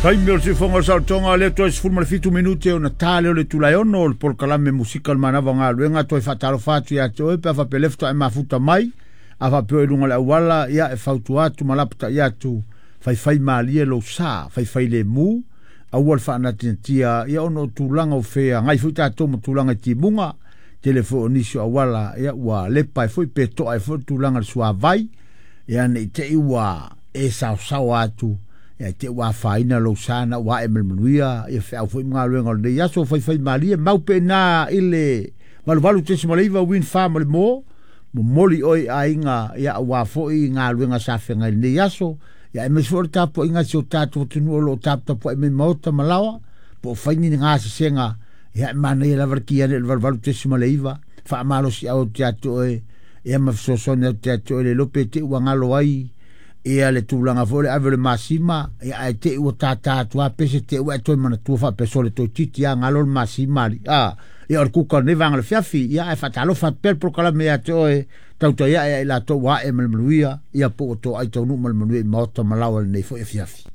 Taimi o le siufoga o le saolotoga lea toe 17 minute ona ta lea o le itula e 6 o le polokalame musika o le manava o galuega. Toe faatalofa atu ia te oe pe a faapea lea faatoa e mafuta mai, a faapea oe i luga o le auala, ia e fautua atu ma lapatai atu, faifai malie lou sa, faifai lemu, aua le faanatinatia, ia ona o tulaga o feagai foi tatou ma tulaga i timuga, tele foi o nisi o auala, ia ua lepa ai foi pe toa ai foi le tulaga i le suavai, ia ne i te i ua e saosaoa atu, ia te ua afaina lou sa na ua ae ma le manuia, ia feau foi ma galuega o lenei aso, faifai malie, mau pe ina i le 88.9 Wind Farm o le mo, momoli oe i aiga, ia aua foi galuega sa feagai i lenei aso, ia aemaise foi o le tapuaiga a si o tatou atunuu o lo o taputapuai mai maota ma laoa, po o fai ni gasesega, ia e manaia lava le ki ane i le 88.9, faamalosiau atu ia te oe, ia ma fesoasoani atu ia te oe, le iloa pe te i ua galo ai ia le tulaga foi o le ave o le masima, ia ae te i ua tātā atu lava pese te i ua e toe manatua faapea sole toeitiiti lava galo le masima alii. A, ia o le kuka o lenei vaega o le fiafi, ia ae faatalofa atu pea le polokalame ia te oe, tautai ae ia i latou ua ae ma le manuia, ia po ua toai taunuu ma le manuia i maota ma laoa i lenei foi afiafi.